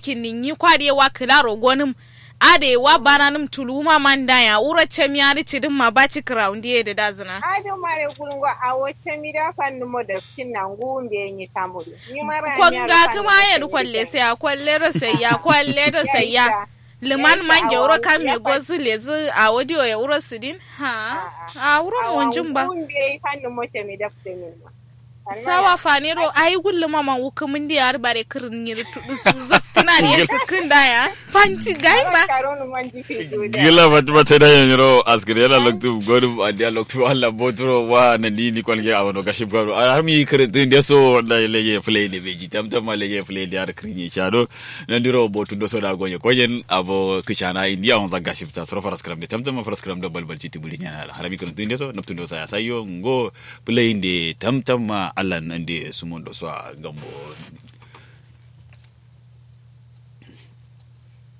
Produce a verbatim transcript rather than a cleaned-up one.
Kinni nyi kwa diye wa kǝlaro gonǝm. Adǝ ye wa bananǝm tuluwuma man daya wuro cami adǝ cǝdǝmma baci kǝrawundiye dǝ dazǝna. Adǝ mare gulngo awo cami da fannǝmo dafcinna nguwu mbeyi nyi tamudǝ. Nyi mara. Konga kǝma ye dǝ kwalle saiya kwalle do saiya kwalle do saiya. Lǝman manje wuro kam ye gozǝ lezǝ awo diyo ye wuro sǝdin. Ha. A wuro monjin ba. Nguwu mbeyi fannǝmo cami dafcinna. Sawa fane do ayi gulluma man wukǝmǝndi ye har bare kǝrǝn nyiri tudu zaktǝna diye sǝkkǝn daya. Fanti gayi ba. Gila fatima tai da yanyiro askǝri yala loktu godum andiya loktu allah boturo wa nandi ni kwalge awono gashib gado a har mi kǝrǝntun de so wallahi lege play de beji tamtam ma lege play de har kǝrǝnye shado. Nandiro botu do so da goye koyen abo kǝshana indiya wonza gashib ta suro faraskram de tamtam ma faraskram do balbal citi buri nyana har mi kǝrǝntun de so nabtun do saya sayo ngo. Play de tamtam ma allah nande sumondo so a gambo.